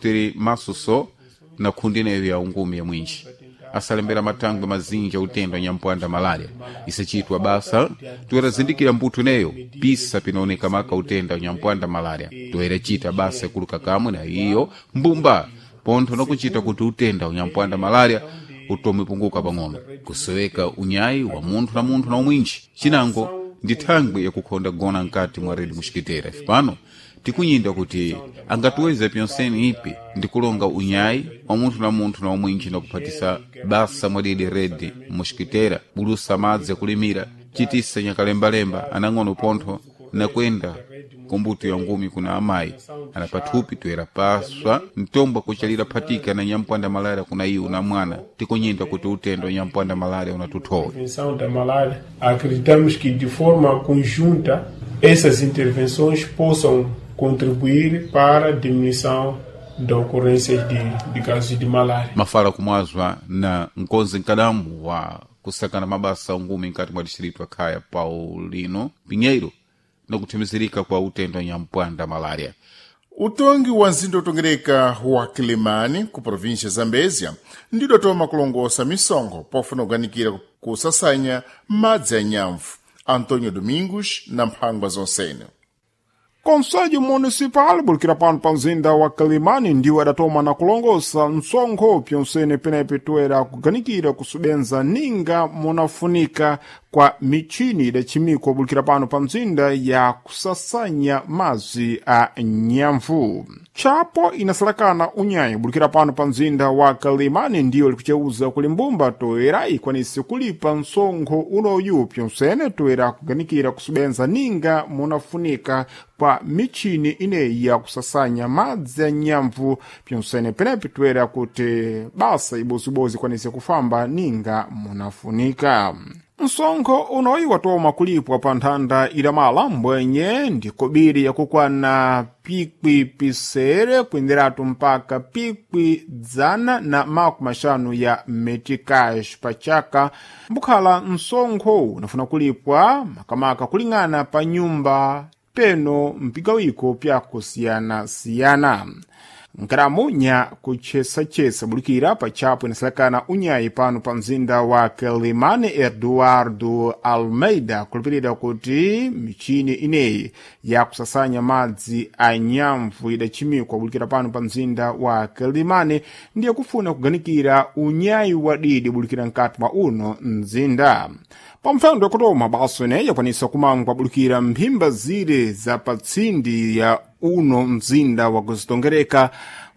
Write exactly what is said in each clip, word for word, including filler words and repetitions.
Tiri maso so na khundi ineyo ya ungumi ya mwinji asalembera matangwe mazinji utenda nyampwanda malaria isachitwa basa toyera mbuto ineyo pisa pinaoneka maka utenda nyampwanda malaria toyera chita basa kuluka kamwe na iyo mbumba pontho nakuchita kuti utenda unyampwanda malaria utome punguka pang'ono kusoweka unyayi wa munthu na munthu na umwinji chinango ndi thangwi yakukhonda gona mkati mwa redi muxikitera ife pano tikunyinda kuti angatiweze pyonseni ipi ndi kulonga unyayi wa munthu na munthu na umwinji na kuphatisa basa mwadidi redi muxikitera bulusa madzi akulimira chitisa nyakalembalemba anang'ono pontho nakwenda kumbuto ya ngumi kuna amayi ana pathupi toyera paswa mtombo kuchalira phatika na nyampwanda malaria kuna iwo na mwana tikunyinda kuti utendo wa nyampwanda malaria unatuthowe Prevenção da malária. Acreditamos que de forma conjunta essas intervenções possam contribuir para a diminuição da ocorrência de, de casos de malária. Mafala kumwazwa na nkonzi nkadamu wa kusakana mabasa ungumi nkati mwa distrito akhaya Paulino Pinheiro na kuthimizirika kwa utendo wa nyampwanda malaria. Utongi wa nzinda utongereka wa Kilimani ku província ya Zambézia ndidotoma kulongosa misonkho pofuna kuganikira kusasanya madzi a nyamvu. Antônio Domingos na mphangwa zonsene. Conselho Municipal bulikira pano pa mzinda wa Kalimani ndiwo adatoma na kulongosa msonkho pyonsene penepe toera kuganikira kusubenza ninga munafunika kwa michini idachimikwa bulikira pano pa mzinda ya kusasanya madzi a nyamvu. Chapo inasalakana unyayi bulikira pano pa mzinda wa Kalimani ndiyo likucheuza kuli mbumba toera ikwanise kulipa msonkho unoyu pyonsene toera kuganikira kusubenza ninga munafunika kwa michini ineyi ya kusasanya madzi ya nyamvu pyonsene penepi toera kuti basa ibozibozi ikwanise kufamba ninga munafunika. Msonkho unoyi watoma kulipwa pa nthanda ilamala mbwenye ndi kobiri yakukwana pikwi pisere kuyenderatu mpaka pikwi dzana na makumi axanu ya meticais pa chaka mbukhala msonkho unafuna kulipwa makamaka kuling'ana pa nyumba peno mpigawiko pyakusiyana-siyana. Nkaramu nya kuchesachesa bulikira pachapo inasalakana unyayi pano pa mzinda wa Quelimane Eduardo Almeida kulipirira kuti michini ineyi yakusasanya madzi a nyamvu idachimikwa bulikira pano pa mzinda wa Quelimane ndiye kufuna kuganikira unyayi wadidi bulikira mkati mwa uno mzinda. Pamphando yakutoma baso ineyi yakwanisa kumangwa bulikira mphimba zire za patsindi ya uno mzinda wa kuzitongereka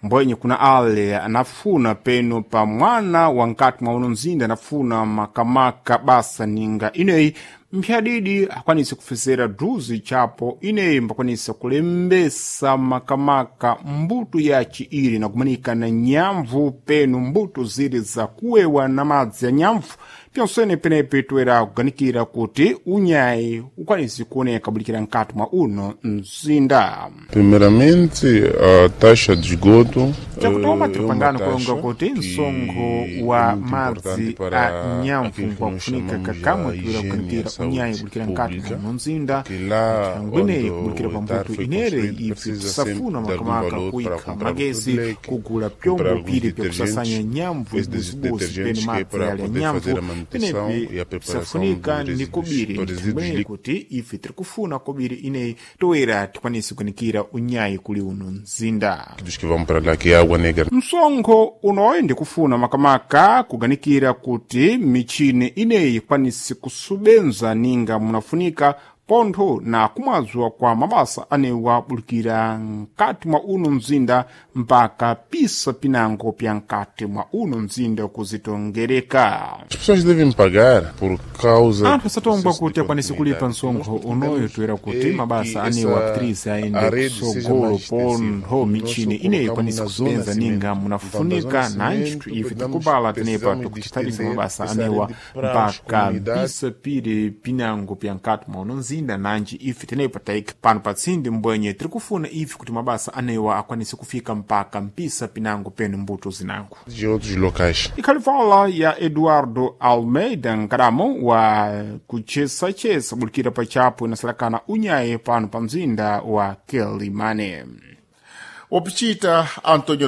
mbwenye kuna ale anafuna peno pa mwana wa nkati mwa uno mzinda anafuna makamaka basa ninga ineyi mphyadidi akwanise kufesera druzi chapo ineyi mbakwanisa kulembesa makamaka mbuto ya chiiri na kumanika na nyamvu peno mbuto ziri za kuwewa na madzi ya nyamvu pyonsene penepi toera kuganikira kuti unyayi ukwanise kuoneka bulikira nkati mwa uno mzinda. Primeiramente, a taxa de esgoto Chakutoma eh, é tiri uma pangano taxa kulonga kuti que msonkho é wa muito madzi importante a para nyamvu aquilo que nós kwakufunika chamamos kakamwe a toera higiene e kuganikira a saúde unyayi bulikira nkati pública, mwa uno mzinda que lá ngweneyi onde kubulikira o pa etar mbuto foi inere construído ife precisa sempre tisafuna de algum makamaka valor para kuikha comprar um magezi leque, kugula comprar pyombo alguns piri pyakusasanya detergentes, nyamvu esses ibuzibuzi peno detergentes que é madzi para ali a poder nyamvu fazer a manutenção penepi e a preparação tisafunika dos ndi resíduos, kobiri dos resíduos ngweneyi líquidos. kuti ife tiri kufuna kobiri ineyi toera tikwanise kuganikira unyayi kuli uno mzinda. Que vão para lá, que é água negra. Msonkho unoyi ndikufuna makamaka kuganikira kuti michini ineyi ikwanise kusubenza ninga munafunika pontho na kumwazwa kwa mabasa anewa bulikira nkati mwa uno mzinda mpaka pisa pinango pya nkati mwa uno mzinda kuzitongereka. As pessoas devem pagar por causa Anthu asatongwa do kuti processo de akwanise kulipa continuidade. msonkho Nós unoyo pretendemos toera kuti é mabasa que anewa essa apitirize a aende rede seja kusogolo mais extensiva. pontho Nós michini só ineyi colocamos ikwanise na zona kusenza ninga cimento. Então, da munafunika zona nanji cimento, ife precisamos, tikubala tenepa precisamos de tikutitaliza estender mabasa essa anewa rede para as mpaka comunidades. mpisa piri pinango pya nkati mwa uno mzinda nanji ife tenepa taika pano patsindi mbwenye tiri kufuna ife kuti mabasa anewa akwanise kufika mpaka mpisa pinango penu mbuto zinango. De outros locais. Ikhalivala ya Eduardo Almeida nkadamo wa kuchesachesa bulikira pachapo inasalakana unyaye pano pa mzinda wa Quelimane. Wapichita Antônio